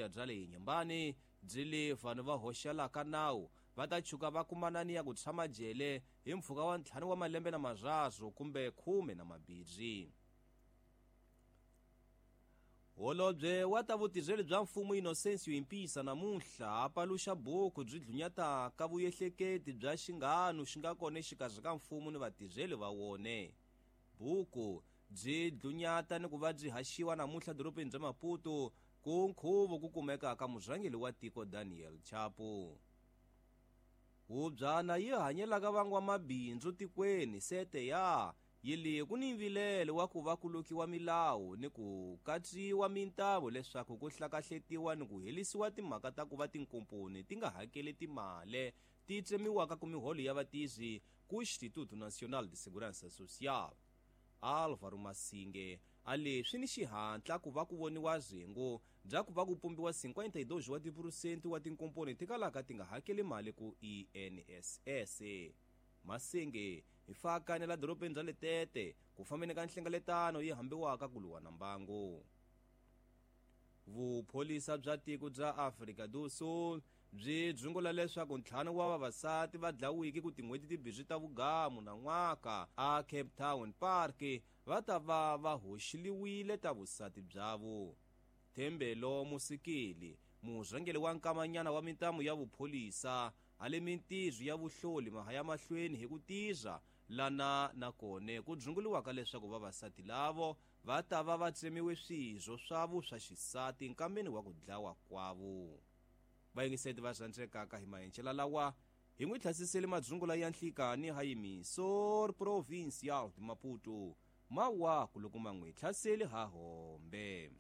Bya le Inhambane byi le vanhu va hoxelaka nawu va ta chuka va kumanani ya ku tshama jele hi mpfhuka wa 5 wa malembe na mararu kumbe 12. Holobye wa ta vutirheli bya mfumo Inocencio Impisa namuntlha a paluxa buku byi dlunyataka vuyehleketi bya xinghanu xi nga kona exikarhi ka mfumo ni vatirheli va wone. Buku byi dlunyata ni ku va byi haxiwa namuntlha dorobeni bya Maputo ku nkhuvo ku kumeka ka murhangeri wa tiko Daniel Chapo. Hubyana yi hanyelaka van'wamabindzu tikweni sete ya yi le ku ni mvilelo wa ku va ku lukiwa milawu ni ku katsiwa mintavo leswaku ku hlakahletiwa ni ku helisiwa timhaka ta ku va tinkomponi ti nga hakeli timale ti tsemiwaka ku miholo ya vatirhi ku Instituto Nacional de Segurança Social. Álvaro Masinge a leswi ni xihatla ku va ku voniwa rhengu bya ku va ku pumbiwa 52 wa tiphurusenti wa tinkomponi ti kalaka ti nga hakeli mali ku INSS. Masinge hi fakane la dorobeni ra Letete ku fambeni ka nhlengeletano yi hambiwaka ku lwa na mbangu. Vupholisa bya tiko bya Afrika do Sul byi dzungula leswaku 5 wa vavasati va dlawiki ku tin'hweti timbirhi ta vugamu na n'waka a Cape Town Park va ta va va hoxiliwile ta vusati byavo. Thembelo Musikeli, murhangeri wa nkamanyana wa mintamu ya vupholisa a le mintirho ya vuhloli mahaya mahlweni hi ku tirha lana na kone ku dzunguliwaka leswaku vavasati lavo va ta va va tsemiwe swirho swavo swa xisati nkambeni wa ku dlawa kwavo. Vayingiseti va rhandzekaka hi mahencela lawa hi n'wi tlhasisele madzungula ya nhlikani ha Emissor Provincial de Maputo mawaku loko ma n'wi tlhaseli ha hombe.